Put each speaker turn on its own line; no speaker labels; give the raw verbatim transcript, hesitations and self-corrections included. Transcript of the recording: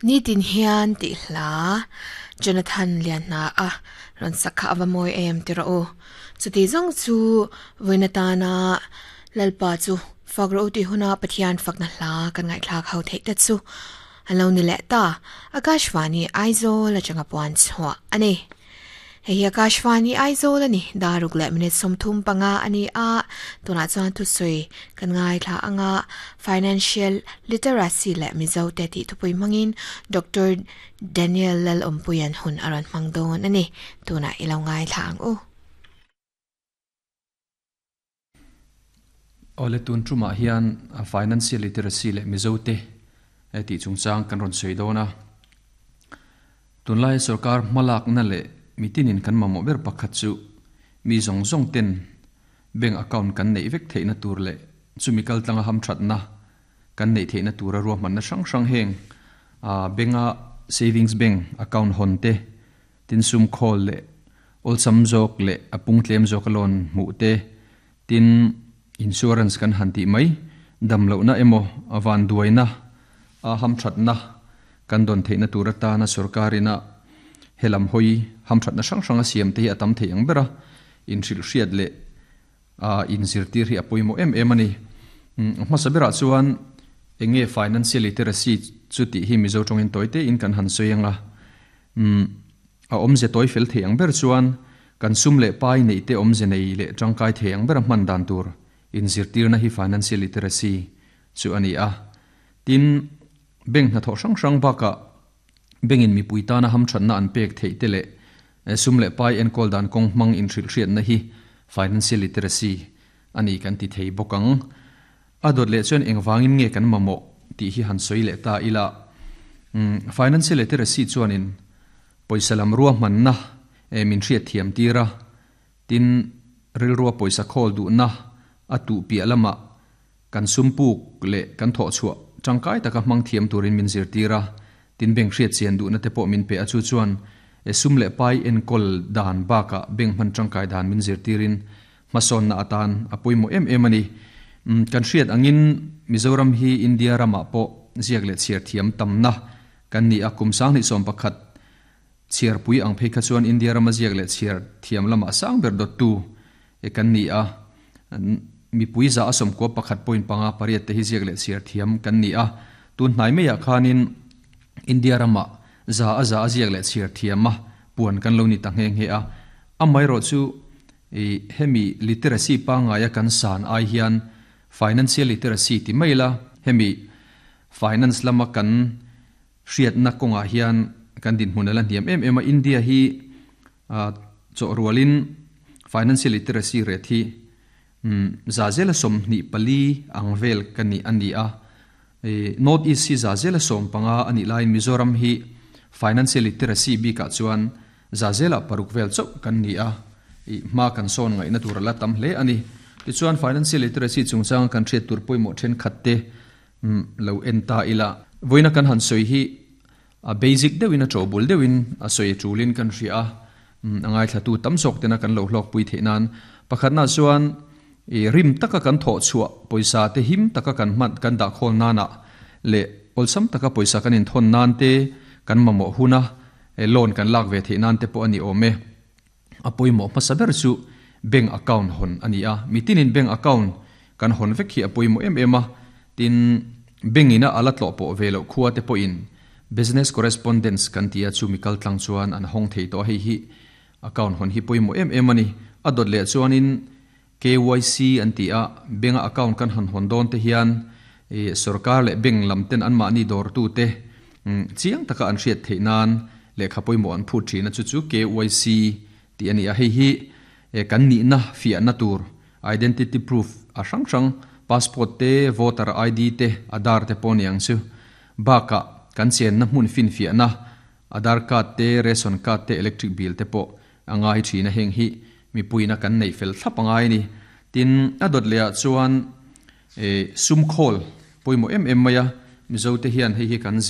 Ni tin hian ti hla Jonathan lian na a ron sakha awamoi em tiro o chuti zong chu voinatana lalpa chu fagro ti huna pathian fakna hla kan ngai thla khau thei ta chu alo ni le ta Akashvani Aizawl atanga puan chhuah ani. Hei Akashvani Aizawl ani daruk le minute somthum panga ani a tuna chuan thu sui kan ngai thla anga financial literacy le Mizo te ti thupui mangin Doctor Daniel Lal Ompuyan hun aran mangdon ani tuna ilo ngai thla ang u.
Ole tun truma hian financial literacy le Mizo te ti chungchang kan ron sei dona tunlai sarkar malak na le mitinin kan mamo ber pakhat chu mi zong zong ten bank account kan nei vek theina tur le chumi kal tlanga ham that na kan nei theina tura ro man na sang sang heng a benga savings bank account hon te tin sum khol le ol sam jok le apung tlem jok loan mu te tin insurance kan han ti mai dam lo na emo awan duaina a ham that na kan don theina tura ta na sarkarina helam hoi ham that na sang sang a siam te hi atam thei ang bera in hril hriat le a in zirtir hi apoimo em em ani hma sabera chuan enge financial literacy chu ti hi Mizo tongin toite in kan han soianga um a omze toi fel thei ang ber chuan kan sum le pai nei te omze nei le tangkai thei ang bera man dan tur in zirtir na hi financial literacy chu ani a tin bank na tho sang sang baka bengin mi puitana ham thatna an pek thei te le sum le pai en kol dan kong mang in hril hriat na hi financial literacy ani kan ti thei bokang adot le chuan engwangin nge kan mamo ti hi han soi le ta ila financial literacy chuanin poisa lam ruwa man na e min hriat thiam tira tin ril ruwa poisa khol du na atu pi alama kan sumpuk le kan tho chua tangkai taka mang thiam turin min zir tira tin beng hriat chian du na te pawh min pe a chu chuan e sum le pai en kol dan baka beng man tangkai dan min zir tirin mason na atan apoimo em em ani kan hriat angin Mizoram hi India rama po ziak le chiar thiam tamna kan ni akum sang ni som pakhat chiar pui ang phei kha chuan India rama ziak le chiar thiam lama sang ber dot tu e kan ni a mi pui za asom ko pakhat point panga pariat te hi ziak le chiar thiam kan ni a tun hnai me ya khanin India rama za a za aziak le chiar thiama puan kan lo ni ta nge nge a amai ro chu e hemi literacy pa nga ya kan san ai hian financial literacy ti maila hemi finance lama kan hriat na konga hian kan din hmunala hiam em em a India hi a cho rualin financial literacy rate hi za zela som ni pali angvel kan ni ani a North East hi za zela som panga ani lain Mizoram hi financial literacy bi ka chuan za zela paruk vel chau kan ni a i ma kan son ngai na tur la tam hle ani ti chuan financial literacy chungchang kan thriat tur poimo then khatte lo enta ila voina kan han soi hi a basic deuhin a chobul deuhin a soi chulin kan hria angai thlatu tam sok tena kan lo hlok pui theinan pakhat na chuan e rim taka kan tho chua poisa te him taka kan mat kan da khol nana le olsam taka poisa kan in thon nan te kan mamo huna e loan kan lak ve the nan te po ani ome apoimo masaber chu bank account hon ani a mitinin bank account kan hon vek hi apoimo em ema tin bengina alatlo po velo khuwa te po in business correspondence kan tia chu mikal tlang chuan an hong thei to hei hi account hon hi poimo em em ani adot le chuanin K Y C an ti a bank account kan han hon don te hian e sarkar le bank lam ten an ma ni dor tu te chiang taka an hriat thei nan le khapoimo an phu thina chu chu K Y C ti ani a hei hi e kan ni na fia na tur identity proof a sang sang passport te voter I D te Aadhaar te poniang chu baka kan chen na hmun fin fia na Aadhaar card te ration card te electric bill te po angai thina heng hi mi puina kan nei fel thlapangai ni tin adot le chuan e sum khol poimo em em maya Mizo te hian hei hi kan